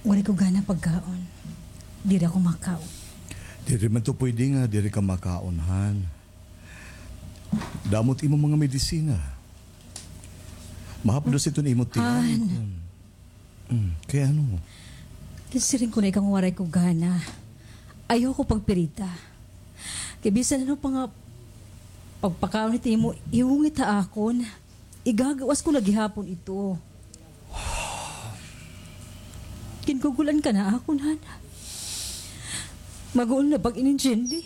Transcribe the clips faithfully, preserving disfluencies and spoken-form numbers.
Waray ko gana pagkaon. Diri ako makaon. Diri man to pwede nga diri ka makaon, Han. Damo it imo mga medisina. Mahapdos iton imo tiyan. Han. Mm, kay ano? Ginsiring ko na ikaw nga waray ko gana. Ayaw ko pagpirita. Kay bisan ano pa nga pagpakaon it imo ihungit ha akon, igagawas ko na gihapon ito. Gingugulan ka na akon, Han. Maguol na pag-inintindi.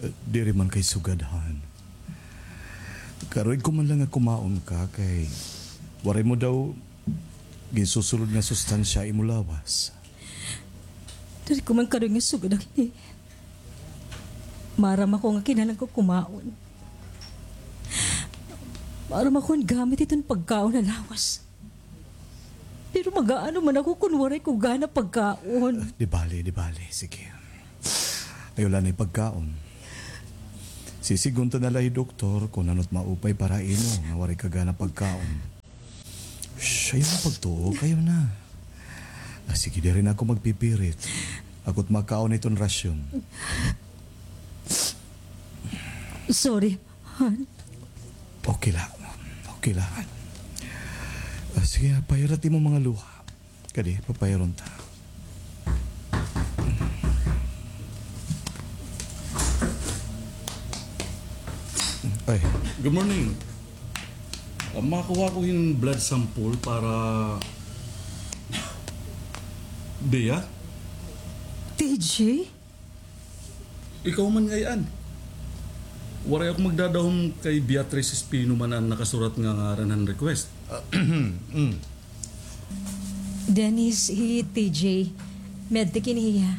Eh, diri man kay sugad, Han. Karuig ko man lang nga kumaon ka kay waray mo daw ginsusulod nga sustansya imo lawas. Diri ko man karuig nga sugad ang ini. Maaram ako nga kinahanglan ko kumaon. Maaram ako nga gamit iton pagkaon ha lawas. Pero mag-aano man ako kon waray ko gana pagkaon? Ah, di bale, di bale. Sige. Ayaw la anay pagkaon. Sisidngon ta na la hi doktor kon ano it maupay para ha imo nga waray ka gana pagkaon. Shh, ayaw na pagtuok, ayaw na. Ah, sige, diri na ako magpipirit. Ako it makaon iton rasyon. Sorry, Han. Okay la. Okay la, Han. Ah, sige, pahira it imo mga luha. Kadi, papairon ta. Ay. Good morning. Ah, makuha ko hin blood sample para Bea? T J? Ikaw man ngay-an. Waray ako magdadahom kay Beatrice Espino man an nakasurat nga ngaran han request. Ah, mm. Dennis, hi T J. Medtech ini hiya.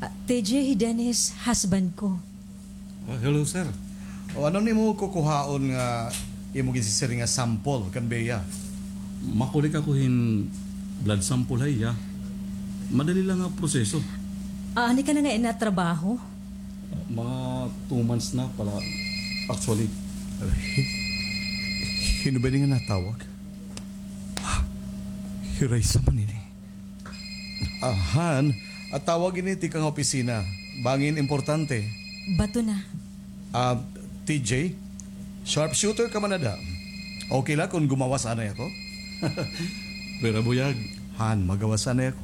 Ah, T J, hi Dennis, husband ko. Ah, hello, sir. O, ano nimo kukuhaon nga imo ginsisiring nga sample kan Bea? Makulik ako hin blood sample ha iya. Madali lang nga proseso. Ah, ani ka na nga inatrabaho? Mga two months na pala, actually. Ay, hin-, hin-o ba ini nga natawag? Ah, hi Raisa man ini. Ah, Han, ah, tawag ini tikang opisina. Bangin importante. Bato na. Ah, T J, sharpshooter ka man ada. Okay la kon gumawas anay ako? Pwera, buyag. Han, magawas anay ako.